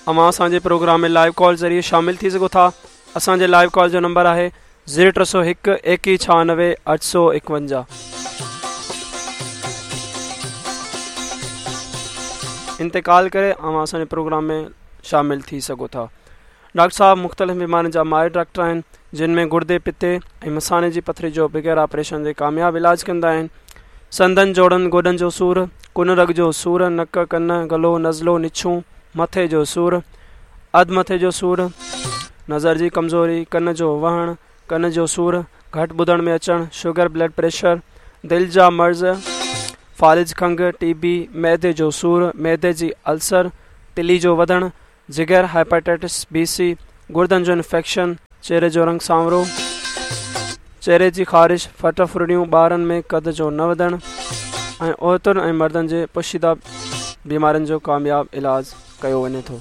اوهان اسان جي پروگرام ۾ لائيو ڪال ذريعي شامل ٿي سگهو ٿا. اسان جي لائيو ڪال جو نمبر آهي زيرو 301 21 96 851. ان تي ڪال ڪري اوهان اسان جي پروگرام ۾ شامل ٿي سگهو ٿا. ڊاڪٽر صاحب مختلف بيمارين جا ماهر ڊاڪٽر آهن جن ۾ گردي، پتي ۽ مثاني جي پٿري جو بغير آپريشن جي ڪامياب علاج ڪندا آهن. سنڌن، جوڙن، گوڏن جو سور، ڪن رڳ جو سور، نڪ، ڪن، گلو، نزلو، نڇون، مٿي جو سور، اڌ مٿي جو سور، نظر جي ڪمزوري، ڪن جو وهڻ، ڪن جو سور، گهٽ ٻڌڻ ۾ اچڻ، شگر، بلڊ پريشر، دل جا مرض، فالج، کنگهه، ٽي بي، معدي جو سور، معدي جي السر، تلي جو وڌڻ، جگر، هيپاٽائٽس بي سي، گردن جو انفيڪشن، چهري جو رنگ سانورو، چهري جي خارش، ڦٽ ڦرڙيون، ٻارن ۾ قد جو نه وڌڻ ۽ عورتن ۽ مردن جي پوشيده بيمارين جو ڪامياب علاج ڪيو وڃي ٿو.